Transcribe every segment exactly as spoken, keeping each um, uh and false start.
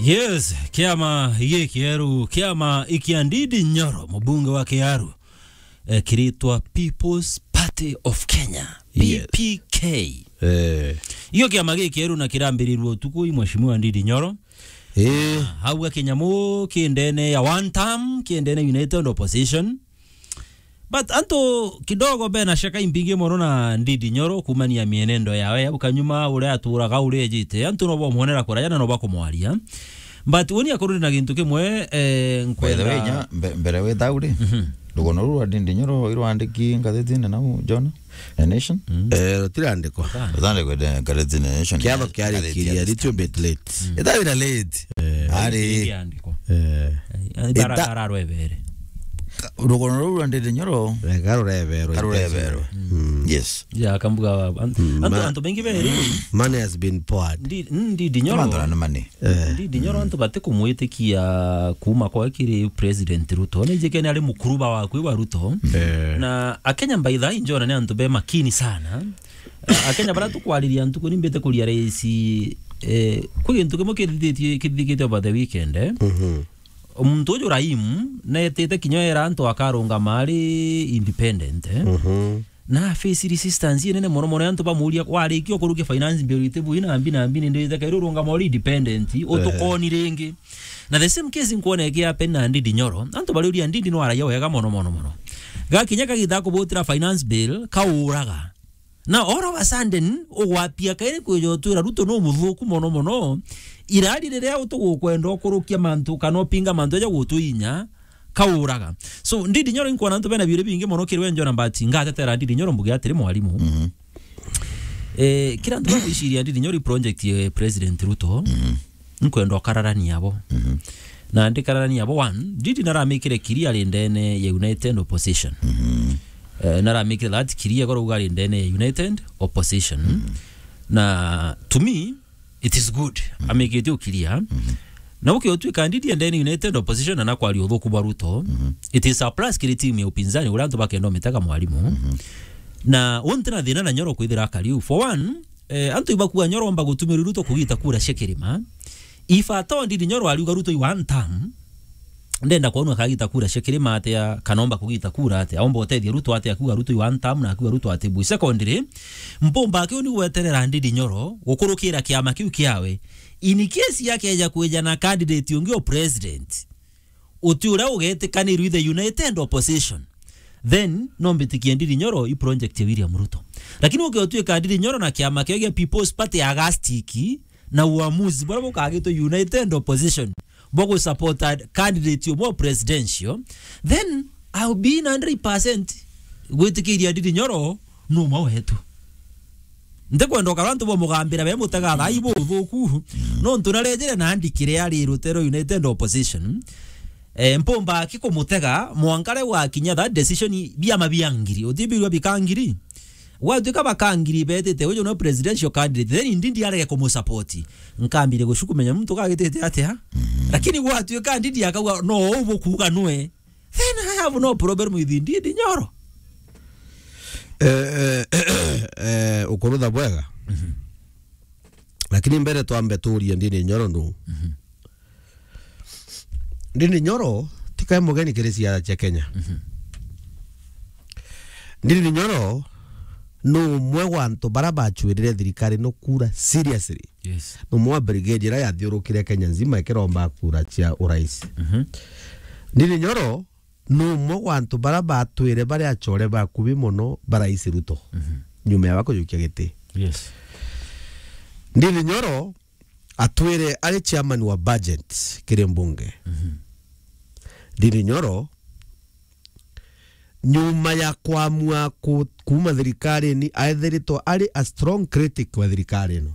Yes, kiama gikieru, kiama ikia Ndindi Nyoro, mubunge wa Kiaru, eh, kiritwa People's Party of Kenya, Yes. P P K. Eh. Iyo kiama gikieru na kirambirirwe utuku i Mheshimiwa Ndindi Nyoro. Eh. Hau ga kinyamu kindene ya one term, kindene United Opposition. But antu kidogo bena shaka imbingi mono na Ndindi Nyoro kumania mienendo yawe ya ukanyuma uria aturaga uria ejite. Antu no bomwonera kuraya na no bakumwaria. But uni akorwo na gintu kimwe, eh, By the way, nkwenda nya, mbe-, mbere wi thau ri, Mhm. rugono ruru rwa Ndindi Nyoro irwandiki ngathitine nau, John? The Nation? Mm. Eh, rutirandikwa. Rutirandikwa ngathitine The Nation. Kiatho kiarikiria, little bit late. Mm. Ithaira late. Eh. Ari. Iriandikwa. Eh. Eh, Ita- bara-, bara rwebere. Ka-, rugono ruru rwa Ndindi Nyoro. Eh, karureberwa. Karureberwa. Mm. Yes. Ya, kambuga wa-, an-, Mm, antu, ma-, antu baingi beri. Money has been poured. Ndi-, Ndindi Nyoro. Kamandora ni money. Eh. Ndindi Nyoro antu batikumwitikia kuuma kwa kiri President Ruto. Ni njike ni ari mukuruba wa kwi wa Ruto. Eh. Na Akenya by the way, njona ni antu be makini sana. Eh, Akenya bara tukwariria ntuku ni mbite kuria raisi, eh, kwi gintu kimwe kithithitie, kithithikite over the weekend, eh. Mhm. Muntu uju Raim, netite kinya era antu akarungama ari independent, eh. Mhm. Na face resistance inene mono mono, antu bamuria, "Warikia kurukia finance bill itibu ina mbi na mbi, ni ndite kairi urungama uri independent, utukoni ringi." Na the same case nkwona iki happen na Ndindi Nyoro. Antu bariuria Ndindi no araia wega mono mono mono. Gakinya kagita kubutira finance bill, kauraga. Na all of a sudden, ugwapia kairi kwija utwira Ruto no muthuku mono mono. Irari riria utugukwenda ukurukia mantu kana upinga mantu eja gutuinya, kauraga. So, Ndindi Nyoro inkwona antu bena biuri bingi mono kiri we njona, but ngatetera Ndindi Nyoro mbuge atiri mwarimu. Mhm. Eh, kira antu bakwiciria Ndindi Nyoro i project ye President Ruto. Mhm. Nkwenda ukararania abo. Mhm. Na ndikararania abo, one, Ndindi naramikire clear ari ndene ya United Opposition. Mhm. Eh, naramikire that clear, korwo ari ndene ya United Opposition. Mhm. Na to me, it is good. Mhm. Amikite ukiria. Mhm. Na ukiotwika Ndindi ndene United Opposition na nakwaria uthuku bwa Ruto, Mhm. it is a plus kiri team ya upinzani, uria antu bakenda umitega mwarimu. Mhm. Na unti na thina na Nyoro kwithira akariu. For one, eh, antu ibakua Nyoro omba gutumira Ruto kugita kura cia kirima. If at all Ndindi Nyoro ariuga Ruto i one term, ndenda kwonwa kagita kura cia kirima atia, kana omba kugita kura atia, omba utethia Ruto atia, akuga Ruto i one term na akuga Ruto ati bui. Secondly, mpumba kiu ni gweterera Ndindi Nyoro gukurukira kiama kiu kiawe. In case yakeja kwija na candidate ungi o president, uti uria ugetikanirwe the United Opposition, then no mbitikie Ndindi Nyoro i project ya William Ruto. Lakini ukiotwika Ndindi Nyoro na kiama kiu gia People's Party agastiki na uamuzi buria bukagitwe United Opposition bwa gusupport a candidate umwe wa presidential, then I'll be in hundred percent gwitikiria Ndindi Nyoro no umwe wetu. Ntikwenda ukara antu bamugambira be mutega thai buthuku. Nontu narejere na andikire ari rutero United Opposition. Eh, mpumba aki kumutega mwanka ria gwakinya that decision, biama bia ngiri. Utibirwa bika ngiri. Gwatuika baka ngiri betite uju no presidential candidate, then Ndindi arege kumusupport. Nkambire gucukumenya muntu kagitite atia. Lakini gwatuika Ndindi akauga no ubu kuuga nwe. Then I have no problem with Ndindi Nyoro. Eh, eh, eh, ukurutha bwega. Mhm. Lakini mbere twambe tuurie Ndindi Nyoro nu. Mhm. Ndindi Nyoro ti kae mugeni kiri siasa cia Kenya. Mhm. Ndindi Nyoro nu umwe wa antu bara bachwirire thirikari no kura seriously. Yes. Ni umwe wa brigade iria yathiurukire Kenya nzima ikiromba kura cia urais. Mhm. Ndindi Nyoro ni umwe wa antu bara batwire bari achore bakubi mono ba Rais Ruto. Mhm. Nyuma ya bakujukia giti. Yes. Ndindi Nyoro atwire ari chairman wa budget kiri mbunge. Mhm. Ndindi Nyoro nyuma ya kwamua ku-, kuuma thirikarine, aethiritwe ari a strong critic wa thirikari ino,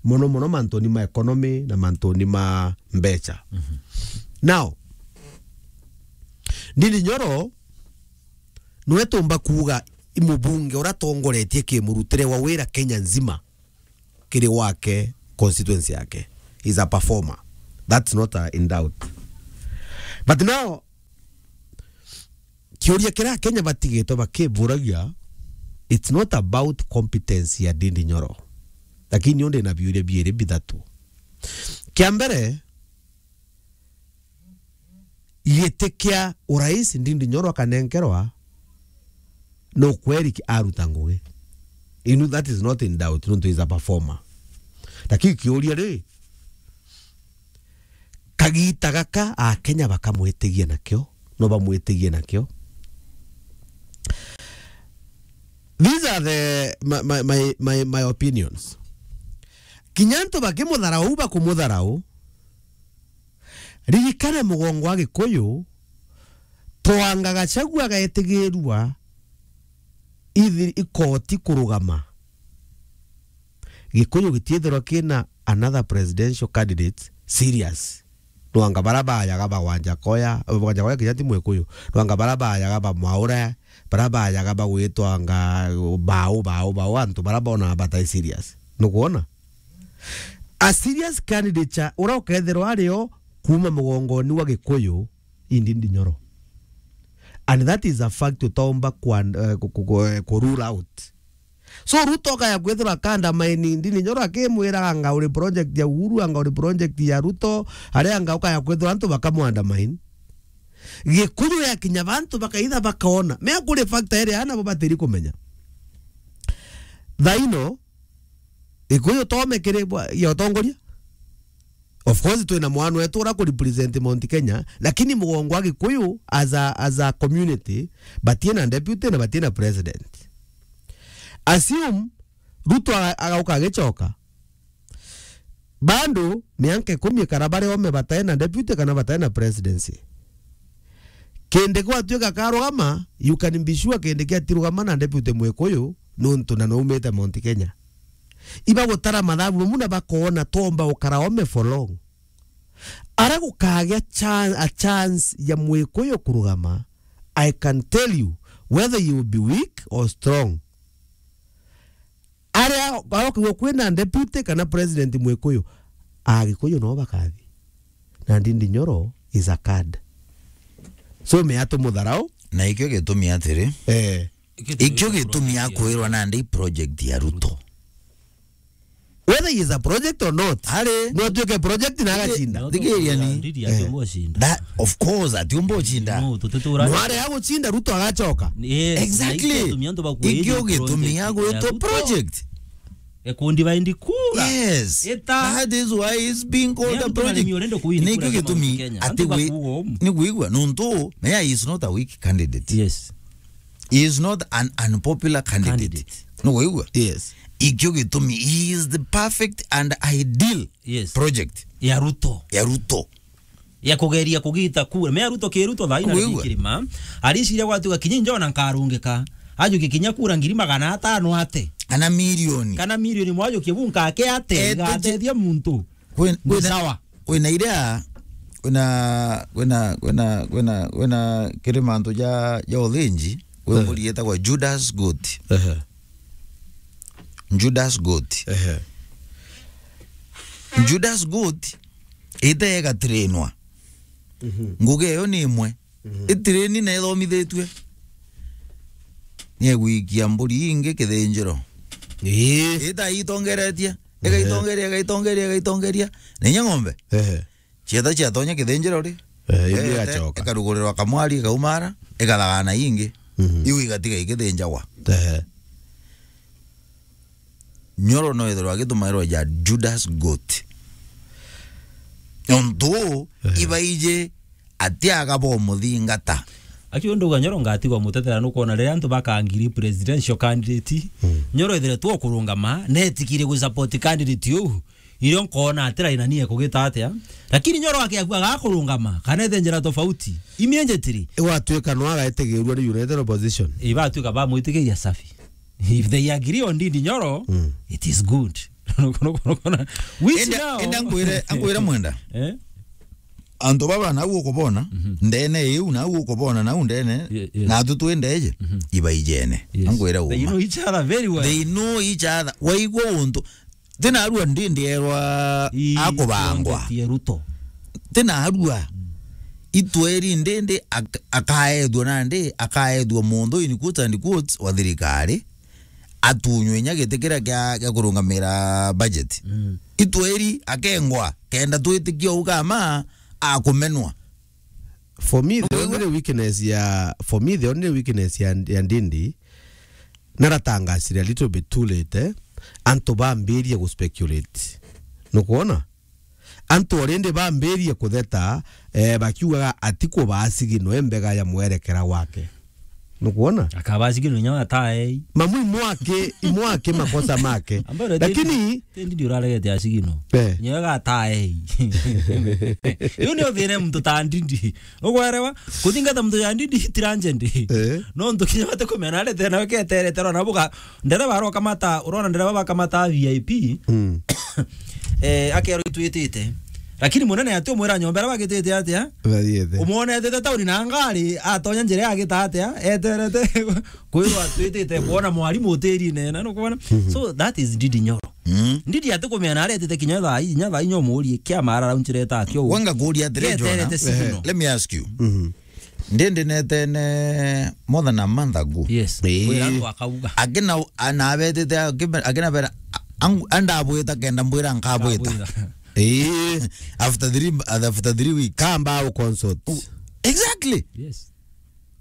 mono mono mantuni ma economy na mantuni ma mbeca. Mhm. Now, Ndindi Nyoro nwe tumba kuuga i mubunge uria atongoretie kimurutire wa wira Kenya nzima kiri wake constituency yake. He's a performer. That's not, uh, in doubt. But now, kiuria kiria Akenya batigitwe bakiburagia, it's not about competence ya Ndindi Nyoro. Lakini undi na biuria biiri bithatu. Kia mbere, giti kia urais Ndindi Nyoro akanenkerwa, no kweri ki-, aruta ngugi. You know, that is not in doubt, nontu is a performer. Lakini kiuria ri, kagita gaka Akenya bakamwitigia nakio, no bamwitigie nakio? These are the, my, my, my, my, my opinions. Kinya antu bakimutharau, bakumutharau, ririkana mugongo wa Gikuyu, twanga Gachagua gaetigirua ithi-, ikoti kurugama. Gikuyu gitiithirwa kina another presidential candidate serious. Nwanga bara bayaga ba Wanjakoya, Wanjakoya kinya ti Mwikuyu. Nwanga bara bayaga ba Mwaura, bara bayaga bagwitwanga Bau, Bau, Bau, antu bara bona batai serious. Nukwona? A serious candidate cha ura ukethirwa ario kuma mugongoni wa Gikuyu, i Ndindi Nyoro. And that is a fact utaumba kwa, eh, ku, ku, ku, eh, ku rule out. So Ruto akaya kwithirwa akandamaini Ndindi Nyoro akimwira anga uri project ya Uhuru, anga uri project ya Ruto, aria anga ukaya kwithirwa antu bakamwandamaini. Gikuyu ya kinya bantu bakaitha bakaona. Mea kuri factor iri ana bo batiri kumenya. Thaino, Gikuyu tome kiri bwa-, ya utongoria. Of course, twina mwana wetu ura ku represent Mount Kenya, lakini mugongo wa Gikuyu as a, as a community, batiena deputy na batiena president. Assume Ruto aga-, agauka agicoka. Bado mianka ikumi ikara bari ome bataena deputy kana bataena presidency. Kindiki gwatuika karugama, you can be sure Kindiki atirugama na deputy Mwikuyu, nontu na naumite Mount Kenya. Iba gutara mathabu bamwe na bakoona twomba gukara ome for long. Ara gukagea chan-, a chance ya Mwikuyu kurugama, I can tell you whether you will be weak or strong. Aria, aria kwina deputy kana president Mwikuyu, Agikuyu no bakathi. Na Ndindi Nyoro is a card. So, mea tumutharau. Na ikio gitumi atiri. Eh. Ikio gitumi akwirwa nandi project ya Ruto. Whether he is a project or not. Ari. No atuike project na agacinda. Thigiria ni. Ndindi Eh. atumbo cinda. That, of course, atiumba ucinda. No, tututura. No aria agucinda, Ruto agacoka. Yes, Exactly. na ikio gitumi antu bakwiri Ikio gitumi project ya agwitwo Ruto. project. Ekundi baindi kura. Yes. Ita. That is why he's being called Ni a antu project. barimi urende kuwini Ni kura ikio cia Mount gitumi Kenya. ati Antu wi-, bakuuga umu. ni kuigua, nontu, Mea is not a weak candidate. Yes. He is not an unpopular candidate. Candidate. Ni kuigua? Yes. Ikio gitumi, he is the perfect and ideal Yes. project Ya Ruto. ya Ruto. Ya kugeria kugita kura. Mea Ruto ki Ruto thaina Kuigua? Kirima. Ariciria gwatuka kinya injo na nkarungika. Ajuke kinya kura ngiri magana atano ate. Kana milioni. Kana milioni mwajuke bu nkake ate. Ete je- Igateithia muntu. Kwin-, Ni kwina, sawa. kwina iria, kwina, kwina, kwina, kwina, kwina kiri mantu ja, ja uthinji, kwi Eh. mburi yetagwa Judas Goat. Ehe. Judas Goat. Ehe. Judas Goat ite igatirinwa. Mhm. Ngugi iyo ni imwe. Mhm. Itireni na ithomithitue. Ni egwikia mburi ingi kithinjiro. Ii. Ita itongeretie. Ehe. Igaitongeria, igaitongeria, igaitongeria. Na inya ng'ombe. Ehe. Cietha ciatonya kithinjiro ri. Eh, indi Eete, igacoka. Ikarugurirwa kamwari, ikaumara, ikathagana ingi. Mhm. Iu igatiga igithinjagwa. Ehe. Nyoro no ithirwa agitumairwa ja Judas Goat. Nontu uu, Ehe. ibaiji atiaga bomuthingata. Aki undu uga Nyoro ngatigwa mutetera nukwona riria antu bakangiri presidential candidate, Mm. Nyoro ithire tu ukurungama, netikire gu support candidate uu. Irio nkoona atira ina nie kugita atia. Lakini Nyoro akiakua agakurungama, kana ethe njira tofauti. Imienjetiri. Igwatuika no agaetigirua ni United Opposition. Ibatuika bamwitikiria safi. If they agree on Ndindi Nyoro, Mm. it is good. Which Enda, now? enda nkwire, nkwire mwenda. Eh? Antu baba nau ukubona, Mhm. ndene iu nau ukubona nau ndene, Ye-, yes. na atu twi ndeje, Mhm. ibaijene. Yes. Nkwire They uma. know each other very well. They know each other. Waigua untu. Tina arua Ndindi erwa Ii, akubangwa. Tongetie Ruto. Tina arua. Mm. Itweri Ndindi ak-, akaethua nandi, akaethua muntu in quotes and quotes wa thirikari. Atunywe inya giti kiria kia, kia kurungamira budget. Mm. Itweri akengwa, kenda twitikia ugama akumenwa. For me, the only weakness ya, for me, the only weakness ya, ya Ndindi, naratangasire a little bit too late, eh? Antu bambirie gu speculate. Nukwona? Antu already bambirie kutheta, eh, bakiugaga ati kubaa signal e mbega ya mwerekera gwake. Nukwona? Akabaa signal inya ataei. Mamu imwake, imwake makosa make. Ambayo Lakini Ndindi uraregete a signal. Eh. Nyoga ataei. Yu ni uthire muntu ta Ndindi. Ugwerewa? Kuthingata muntu ya Ndindi tira njendi. Eh. No ntu kinya bate kumena arete na keterete rona buga. Ndereba arokamata, urona ndereba bakamata V I P. Mm. Eh, akero itwitite. Lakini munene ati umwira nyomba iria bagitite atia? Bathiete. Umwonetete tauni na ngari, atonya njira agita atia? Eterete kwirwa atwitite kwona mwarimu utiri nena, nukwona? Mhm. So that is Ndindi Nyoro. Mm. Ndindi ati kumenya na aretete kinya thaa inya thaa inya umurie kia mara raunchireta akio. Wanga kuria atiri, Jona. Eterete signal. Eh, let me ask you. Mhm. Ndindi netene more than a month ago. Yes. Ii. Kwira antu akauga. Akina, anabetete, akina bera, angu, andabwita kenda mbwira nkabwita. Nkabwita. Ii. After three, after three weeks. Kamba u consult. U-, exactly. Yes.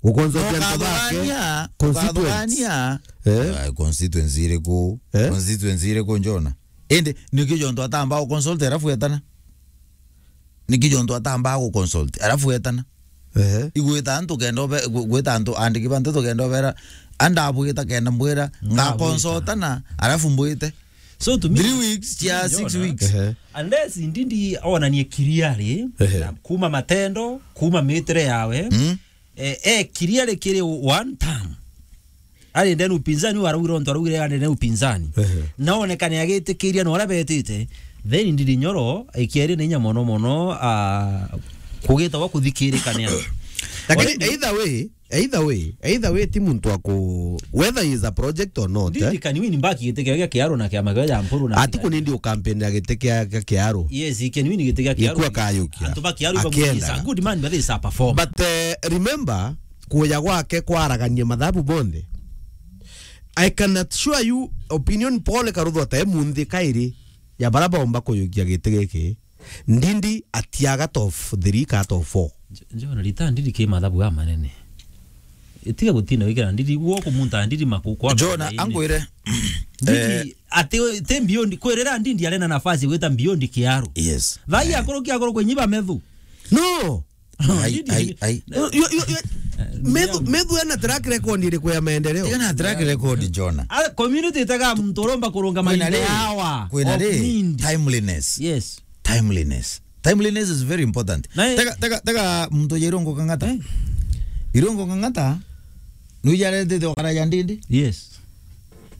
U consult antu bake. Ukathugania, constituents. Ukathugania. Eh? Ah, constituency iriku? Eh? Constituency iriku, Jona? Indi, niki jontu atamba u consult, arafu etana? Niki jontu atambaa gu consult, arafu etana? Ehe. Igwita antu kenda obe-, gw-, gwita antu andiki ba nteto kenda obera, andabwita kenda mbwira, nga consultana, arafu mbwite. So to me, three weeks, cia six weeks. Ehe. Unless Ndindi onanie clearly, ehe, na kuma matendo, kuma mitire yawe, mm, eh, eh, clearly kiri one term. Ari ndene upinzani, waraugire ontu araugire ari ndene upinzani. Ehe. Naonekane agitikiria na uria betite, then Ndindi Nyoro ikiari na inya mono mono, ah, kugita gwa kuthikirikania. Lakini either way, either way, either way, ti muntu aku, whether he is a project or not, Ndindi, eh? Can win back giti kia, kia Kiaru na kiama kia Jampuru na ati ku nindi ukampeni ya giti kia, kia Kiaru. Yes, he can win giti kia Kiaru. Gikua kayukia. Antu ba Kiaru ba is a good man, but is a performer. But, eh, remember, kuja gwake kwaragania mathabu bonthe. I can assure you, opinion poll ikaruthwa ta imunthi kairi ya bara baumba kuyukia giti giki, Ndindi atiaga top three ka top four. J-, John, rita Ndindi ki mathabu ga manene. Itiga gutinda wikira Ndindi, guo kumunta Ndindi maku kwa John, angwire. Ndindi, eh, ati, ti beyond, kwirira Ndindi arena nafasi gwita beyond Kiaru. Yes. Thai, eh, akuru kia akuru kwenyiba methu. No. Ai, ai, ai. Yo, yo, yo, yo. Eh, Methu, Methu ena track record iriku ya maendeleo? Ena track record, Jona. Ah, community itaga muntu uromba kurungama kwina inde ri, hawa kwina of ri, need. Timeliness. Yes. Timeliness. Timeliness is very important. Na tega, tega, tega muntu ya Irungu Kang'ata. Eh. Irungu Kang'ata, nuija aretete okara ya Ndindi? Yes.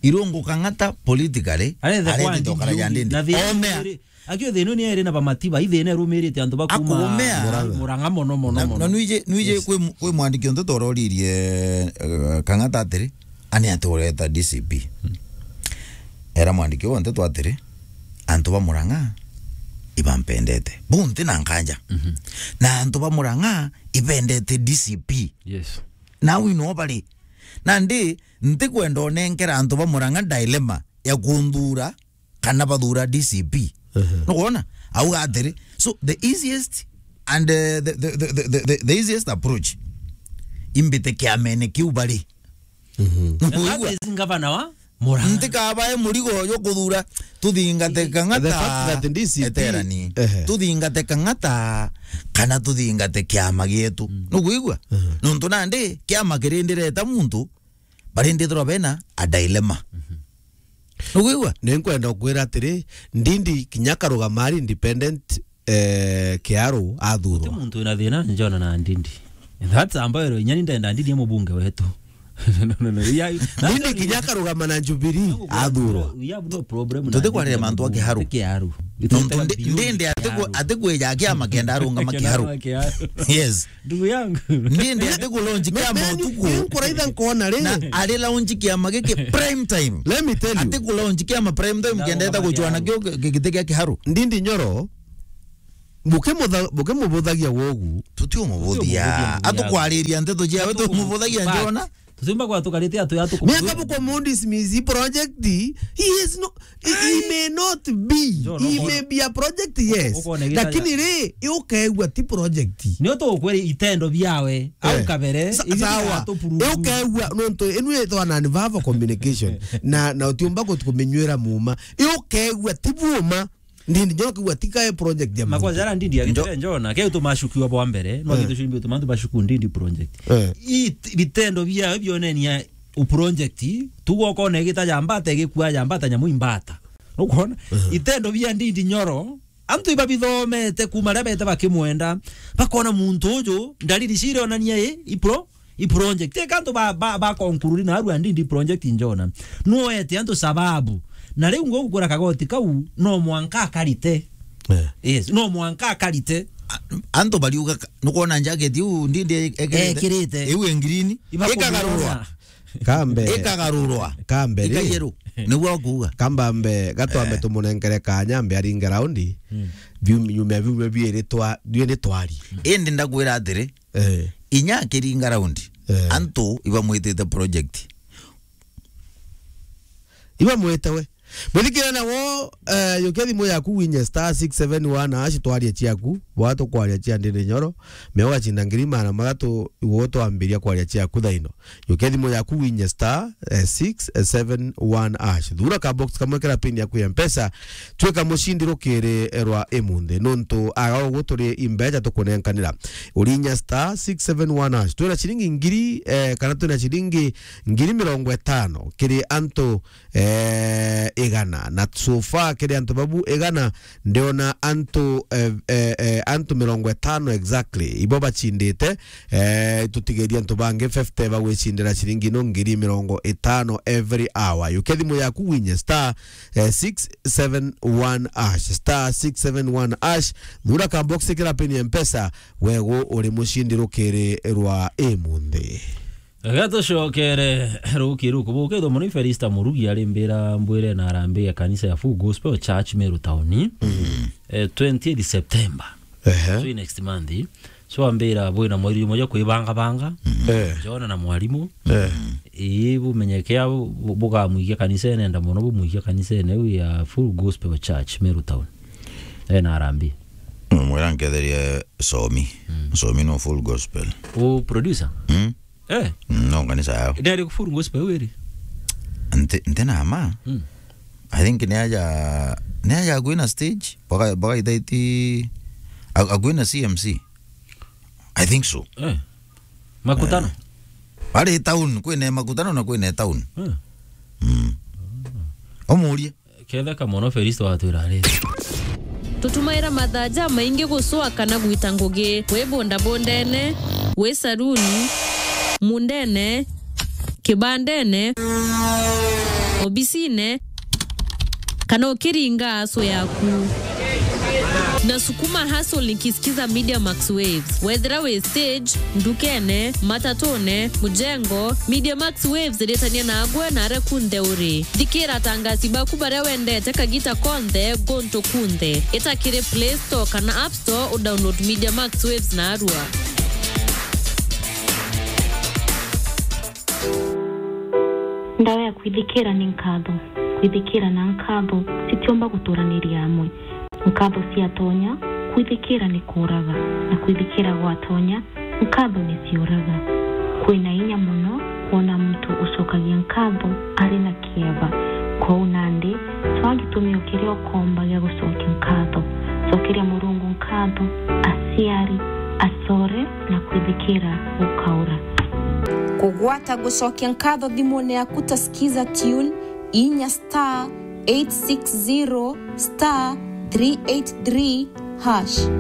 Irungu Kang'ata politically, aretete okara ya Ndindi. Na thina omea. Akio thina ni eri na bamatiba, ithina erumirite antu ba kuma Murang'a. Murang'a mono, mono, na, mono. Na nuije, nuije, yes, kwi mu-, kwi mwandiki onte tororirie, eh, Kang'ata atiri, ani ati ureta D C P. Hmm. Era mwandiki onte twatiri, antu ba Murang'a ibampendete. Bunti na nkanja. Mhm. Na antu ba Murang'a ibendete D C P. Yes. Na wino bari. Nandi, ntikwenda onenkera antu ba Murang'a dilemma ya kunthura kana bathura D C P. Ehe. Nukwona? Auga atiri, so the easiest and, uh, the, the, the, the, the, the easiest approach, imbite kiamene kiu bari. Mhm. Nukwigua? That is ngavana wa Murang'a. Ntikabae murigo yo kuthura, tuthingate Kang'ata. The fact that D C P, eterani. Ehe. Tuthingate Kang'ata, kana tuthingate kiama gietu. Mm. Nukwigua? Ehe. Nontu nandi, kiama kirindireta muntu, barindithirwa bena a dilemma. Mhm. Nukwigua? Ni nkwenda ukwira atiri, Ndindi kinya akarugama ari independent, eh, Kiaru athurwa. Guti muntu wina thina njona na Ndindi. That's ambayo inyani ndenda Ndindi ya mubunge wetu. No, no, no, no. Ndindi kinya akarugama na Jubilee athurwa. We have no problem na Ndindi ya mubunge. Tutikwarira mantu a Kiharu. Kiharu. Nontu ndi-, Ndindi atiku-, atikwija kiama kenda arungama Kiharu. Kiharu. Yes. Ndugu yangu. Ndindi ati ku launch kiama utuku. Ni nkuraitha nkona ri. Na ari launch kiama giki prime time. Let me tell you. Ati ku launch kiama prime time, kendeta guchwana kio gi-, giti kia Kiharu. Ndindi Nyoro, bukimutha-, bukimubuthagia wogu. Tutiumubuthagia. Tutiumubuthagia, ndugu yangu. Atukwariria nteto ciawe, tumubuthagia njona. Tutimba kwa tukarite atu ya tuku- Miaka buko mundismiss project, he is no, he, he may not be. John, he uko-, may be a project, yes. Uko-, uko-, lakini ri, ukegua ti project. Ni utu ukwiri itendo biawe, au kabere, sa-, ibi sawa. Atupurugu. Ukegua, nontu, inu itwa na verbal communication. Na, na utiumba kutukuminywira muma. Ukegua ti buma. Ndindi Nyoro kiuga ti kae project ya Makosa muntu. Jara Ndindi agitire Njo- Njona, keu tumashukiwa bwa mbere, no Eh. Gitu shimbi tumantu bashuku Ndindi project. Eh. It-, bitendo bia bionenia u project, tugokona igita ya mbata, igikua ya mbata, nyamu imbata. Nukwona? Eh. Itendo bia Ndindi Nyoro, antu ibabithomete kuma ria bete bakimwenda, bakona muntu uju, ndariri cire onania i, i pro-, i project. Teka antu ba, ba, ba conclude na arua Ndindi project Njona. Nuete antu sababu. Na riu ngugukura kagoti kau, no mwanka akarite. Eh. Yes, no mwanka akarite. A-, antu bariuga ka-, nukwona jacket iu Ndindi e-, ekirite? Ekirite. Iu e green. Ibakumiona. Ikagarurwa. Kambe. Ikagarurwa. Kambe ri. Ikayeru. Niguo kuuga. Kambambe, gatwambe Eh. tumunenkere kanya, mbe aringe raundi. Mm. Biu-, nyuma ya biumia biiri twa-, biiri twari. Indi ndakwira atiri, Eh. Inya akiringa raundi, Eh. antu ibamwitite project. Ibamwite we. Mwithikirania wo, eh, yukia thimu yaku winye star six seven one hash twarie ciaku. Bwa tukwaria cia Ndindi Nyoro. Mea ugacinda ngiri magana mathatu igwe twambiria kwaria ciaku thaino. Yukia thimu yaku winye star, eh, six seven one hash. Thura ka box kamwe kira pin yaku ya Mpesa. Twika mucindi rukiri rwa imunthi. Nontu aga ugu turi imbeca tukunenkanira. Urinya star six seven one hash. Twina ciringi ngiri, eh, kana twina ciringi ngiri mirongo itano kiri antu, eh, igana. Na so far kiri antu babu igana, ndiona antu, eh, eh, eh, antu mirongo itano exactly. Ibo bacindite, eh, tutigeria antu bangi fifty bagwicindira ciringi no ngiri mirongo itano every hour. Yukia thimu yaku winye star, eh, six seven one hash, star six seven one hash. Thura ka box kira pin ya Mpesa, wego uri mucindi rukiri rwa imunthi. Gatucokere ruki ruku bukithwa muno i Felista Murugi ari mbira mbwire na arambi ya kanisa ya Full Gospel Church Meru Town. Mm. Eh, twentieth September. Ehe. So next month. So ambira bwina mweri umwe jwa kwibanga banga. Eh. Jona na mwarimu. Eh. Ii bumenyekea bu-, bugamwikia kanisa ene enda muno bumwikia kanisa ene iu ya Full Gospel Church Meru Town. Eh, na arambi. Mwira nketherie Somi. Mm. Somi no Full Gospel. U producer? Mm. Eh. Mm, no kanisa yao. Ndari ku Full Gospel wiri? Nte, nte na ma. Mm. I think ni aja, ni aja kwina stage, baka, baka itaiti, a-, akwina C M C. I think so. Eh. Makutano? Eh. Bari town, kwina makutano na kwina town. Eh. Mm. Omurie. Ketheka mono Felisto watwira ari. Tutumaira mathaa jamaingi gucua kana gwita ngugi, wi bundabundene, wi saruni, mundene, kibandene, obisine, kana ukiringa aso yaku. Na sukuma hustle nikisikiza Media Max Waves. Wethira wi stage, ndukene, matatune, mujengo, Media Max Waves iritania nagwe na aria kunthe uri. Thikira atangasi baku baria wendete kagita konthe, guntu kunthe. Ita kiri Play Store kana App Store, u download Media Max Waves narua. Ndawa ya kwithikira ni nkatho. Kwithikira na nkatho citiumba guturaniria amwe. Nkatho ciatonya, kwithikira ni kuuraga, na kwithikira gwatonya, nkatho ni ciuraga. Kwina inya mono kwona muntu ucokagia nkatho ari na kieba. Kwou nandi, cwaa gitumio kiria ukomba gia gucokia nkatho. Cokeria Murungu nkatho, aciari, acore, na kwithikira gukaura. Kugwata gucokia nkatho thimune yaku ta Skiza Tune, inya star eight six zero star three eight three hash.